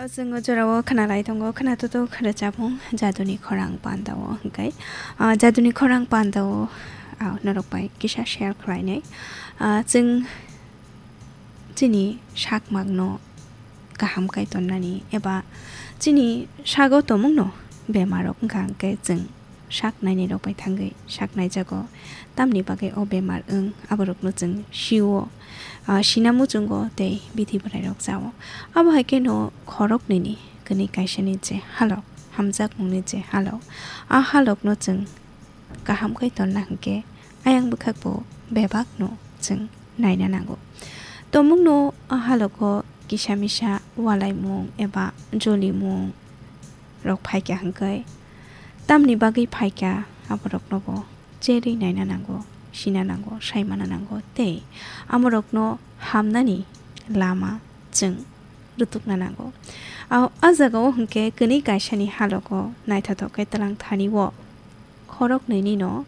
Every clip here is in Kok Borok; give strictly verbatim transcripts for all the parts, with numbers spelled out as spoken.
Chwng o jorao khwnalai tongo, khwnatotok rwchapmung Jaduni Khorang pandao hwnkhe, ah, Jaduni Khorang pandao, ah, norok bai kisa share khlainai. Ah, chwng chini sakmakno kaham kai tonnani eba chini sago tongmungno bemarrok wngkha hwnkhe chwng sak nainai rok bai thangwi sak naijago. Tamni bagwi o bemar wng aborokno chwng sio, ah, sina muchungo tei bithi bwrai rok chao. Abo hai kheno khoroknwi ni kwnwi kaisa ni je halok, hamjakmung ni je halok, a halok no chwng kaham khe tonna hwnkhe ayang bwkhak bo bebak no chwng naina nango. Tongmung no a halogo kisa misa walaimung eba jolimung rok phaikha hwnkhe tamni bagwi phaikha aborok no bo cherwi naina nango, sina nango, saimana nango tei amorokno hamnani lama chwng rwtukna nango. A, a jagao hwnkhe kwnwi kaisani halogo naithothok khe twlang thani o khoroknwini no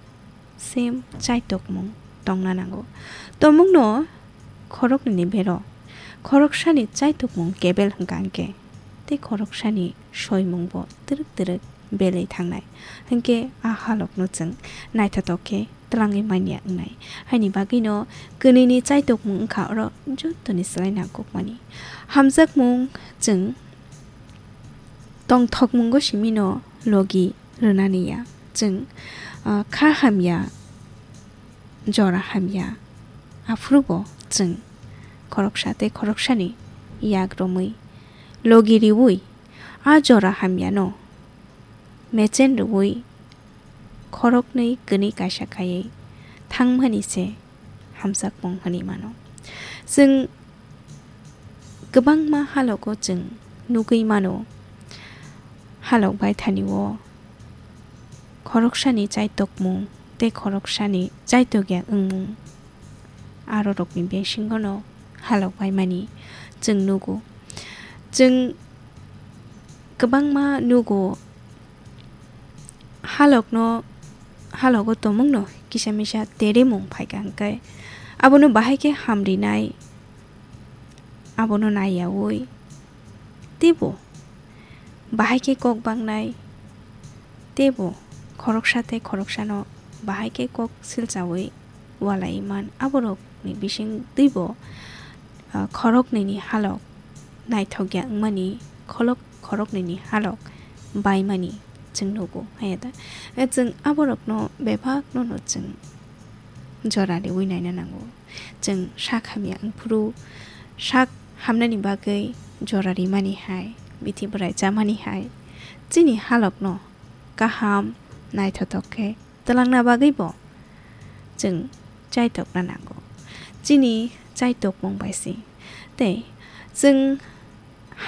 same chaitokmung tongna nango. Tongmungno khoroknwini bero khoroksani chaitokmung kebel hwnkha hwnkhe tei khoroksani soimungbo twrwk twrwk belwi thangnai. Hinkhe a halokno chwng naithothok khe twlangwi manya wngnai. Haini bagwino kwnwini chaitokmung wngkha oro jottoni slai nangkukmani. Hamjakmung chwng tongthokmungo simino logi rwnani ya. Chwng, ah, kha hamya, jora hamya, aphuru bo chwng khoroksa tei khoroksani yak romwi logi riwi a jora hamyano mechen rwui khoroknwi kwnwi kaisa khaiwi thangmani se hamjakmung hwnwi mano. Chwng kwbangma halogo chwng nugwi mano, halok baithani o khoroksani chaitokmung tei khoroksani chaitokya wngmung. Arorokni bisingono halok baimani chwng nugo. Chwng kwbangma nugo, halokno, halogo tongmungno kisa misa terimung phaikha hwnkhe abono bahai khe hamrinai, abono naiyaui teibo bahai khe kok bangnai, teibo khoroksa tei khoroksano bahai khe kok silchaui walai man. Aborokni bising twibo, ah, khoroknwini halok naithokya wngmani, kholok khoroknwini halok baimani chwng nugo, haya da? Eh, chwng aborokno bebakno no chwng jora riui naina nango. Chwng sak hamya wngphuru, sak hamnani bagwi jora rimani hai, bithi bwrai chamani hai, chini halokno kaham naithothok khe twlangna bagwi bo chwng chaitokna nango. Chini chaitokmung bai se tei chwng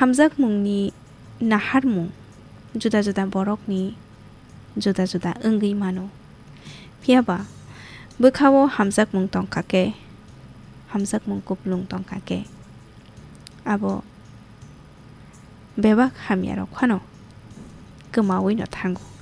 hamjakmungni naharmung juda juda borokni juda juda wngwi mano. Phiya ba bwkhao hamjakmung tongkha khe, hamjakmung kupulung tongkha khe, abo bebak hamyarok phano kwmaui no thango.